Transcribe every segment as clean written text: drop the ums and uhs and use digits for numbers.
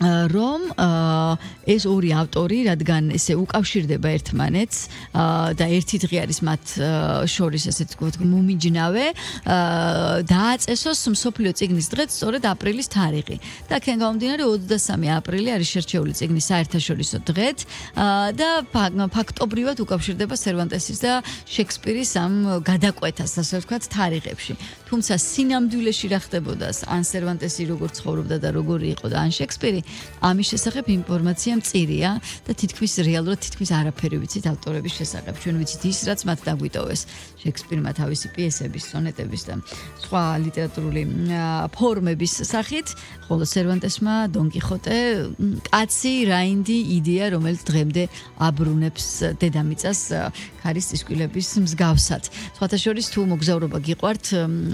რომ ეს ორი ავტორი, რადგან ესე უკავშირდება ერთმანეთს და ერთი დღე არის მათ შორის ესე ვთქვათ მომიჯნავე, დააწესოს მსოფლიო წიგნის დღე სწორედ აპრილის თარიღი. და აქედან გამომდინარე 23 აპრილი არის შერჩეული წიგნის საერთაშორისო დღეთ და ფაქტობრივად უკავშირდება სერვანტესის და შექსპირის ამ გადაკვეთას, ასე ვთქვათ, თარიღებში. თუმცა სინამდვილეში რა ხდებოდა, ან სერვანტესი როგორ ცხოვრობდა და როგორი იყო და ან შექსპირი, ამის შესახებ ინფორმაცია მწირია და თითქმის რეალურად თითქმის არაფერი ვიცით ავტორების შესახებ. ჩვენ ვიცით ის, რაც მათ დაგვიტოვეს. შექსპირმა თავისი პიესების, სონეტების და სხვა ლიტერატურული ფორმების სახით, ხოლო სერვანტესმა დონ კიხოტე კაცი, რაინდი იდეა, რომელიც დღემდე აბრუნებს დედამიწას ქარის წისქვილების მსგავსად. სხვათა შორის თუ მოგზაურობა გიყვართ,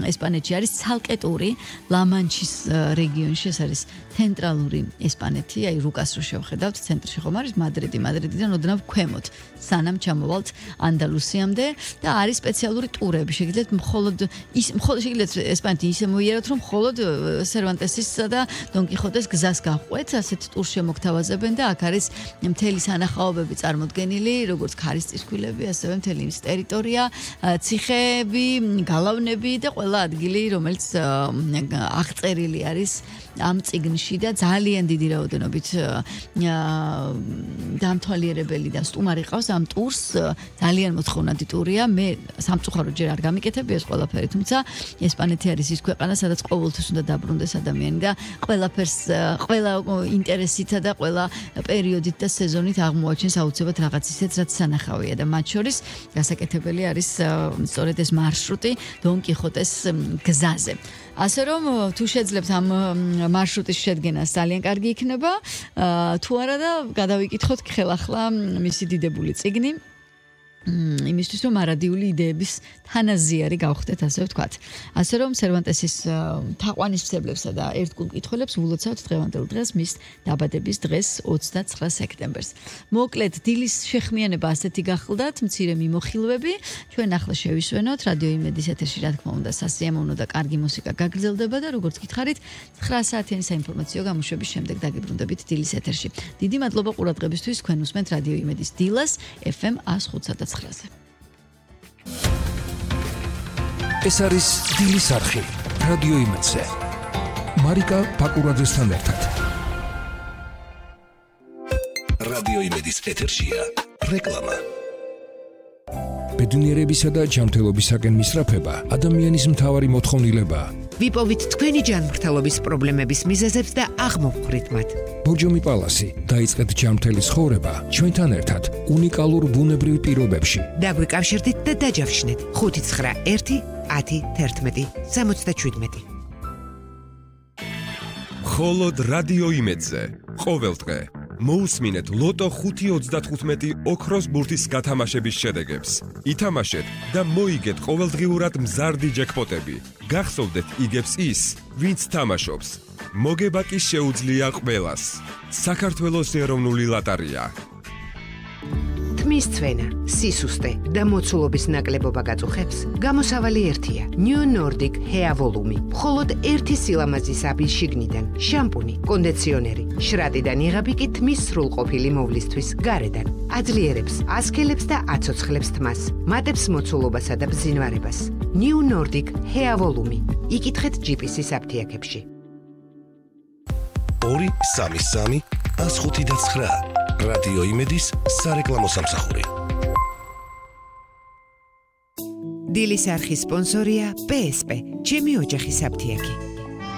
ესპანეთში არის ცალკეტური ლა-მანჩის რეგიონში, ეს არის ცენტრალური ესპანეთი, აი რუკას რო შევხედავთ, ცენტრში ხომ არის მადრიდიდან ოდნავ ქვემოთ, სანამ ჩამოვალთ ანდალუსიამდე და არის სპეციალური ტურები. შეგიძლიათ მხოლოდ შეგიძლიათ ესპანეთი ისე მოიაროთ, რომ მხოლოდ სერვანტესისა და დონ კიხოტეს გზას გაყვეთ, ასეთ ტურს შემოგთავაზებენ და აქ არის მთელი სანახაობები წარმოდგენილი, როგორც ქარის წისქვილები, ასევე მთელი ის ტერიტორია, ციხეები, გალავნები და ყველა ადგილი, რომელიც აღწერილი არის ამ წიგნში და ძალიან დიდი რაოდენობით დამთვალიერებელი და სტუმარი ყავს ამ ტურს, ძალიან მოთხოვნადი ტურია. მე სამწუხაროდ ჯერ არ გამიკეთები ეს ყველაფერი, თუმცა ესპანეთი არის ის ქვეყანა, სადაც ყოველთვის უნდა დაბრუნდეს ადამიანი და ყველა ინტერესითა და ყველა პერიოდით და სეზონით აღმოაჩენს აუცილებლად რაღაც ისეთ, რაც სანახავია და მათ შორის გასაკეთებელი არის სწორედ ეს მარშრუტი დონ კიხოტეს გზაზე. ასე რომ თუ შეძლებთ ამ მარშრუტის შედგენას ძალიან კარგი იქნება, თუ არა და გადავიკითხოთ ხელახლა მისი დიდებული წიგნი. იმისთვის რომ არადიული იდეების თანაზიარი გავხდეთ, ასე ვთქვათ. ასე რომ სერვანტესის თაყვანისმცებლებსა და ერთგულ მკითხველებს ულოცავთ დღევანდელ დღეს მის დაბადების დღეს 29 სექტემბერს. მოკლედ დილის შეხმიანება ასეთი გახლდათ, მცირე მიმოხილვები, ჩვენ ახლა შევისვენოთ რადიო იმედის ეთერში, რა თქმა უნდა, სასიამოვნო და კარგი მუსიკა გაგრძელდება და როგორც გითხარით, 9 საათიანი საინფორმაციო გამოშვების შემდეგ დაგიბრუნდებით დილის ეთერში. დიდი მადლობა ყურადღებისთვის, თქვენ უსმენთ რადიო იმედის დილას FM 105.9-ზე. ეს არის დილის არხი რადიო იმედზე. მარიკა პაკურაძესთან ერთად. რადიო იმედის ეთერშია რეკლამა. ბედნიერებისა და ჯანმრთელობისაკენ მისწრაფება ადამიანის მთავარი მოთხოვნილებაა. ვიპოვით თქვენი ჯანმრთელობის პრობლემების მიზეზებს და აღმოვხვრით მათ. ბორჯომი პალასი, დაიწყეთ ჯანმრთელი ცხოვრება ჩვენთან ერთად უნიკალურ ბუნებრივ პირობებში. დაგვიკავშირდით და დაჯავშნეთ 591 10 11 77. მხოლოდ რადიო იმედზე ყოველდღე მოусმინეთ ლოტო 5.35 ოქროს ბურთის გათამაშების შედეგებს. ითამაშეთ და მოიგეთ ყოველდღიურად მზარდი ჯეკპოტები. გახსოვდეთ იგებს ის, ვინც თამაშობს. მოგება კი შეუძლია ყველას. საქართველოს ეროვნული ლოტარია. თმის ცვენა, სისუსტე და მოცულობის ნაკლებობა გაწუხებს, გამოსავალი ერთია. New Nordic Hair Volume. მხოლოდ ერთი სილამაზის აბის შიგნიდან, შამპუნი, კონდიციონერი, შრატიდან იღები კი თმის სრულყოფილი მოვლისთვის გარედან. აძლიერებს, ასქელებს და აცოცხლებს თმას, მატებს მოცულობასა და ბზინვარებას. New Nordic Hair Volume. იკითხეთ GPS-ის აფთიაქებში. 233 105.9 რადიო იმედის სარეკლამო სამსახური. დილის არხის სპონსორია PSP, ჩემი ოჯახის აფთიაქი.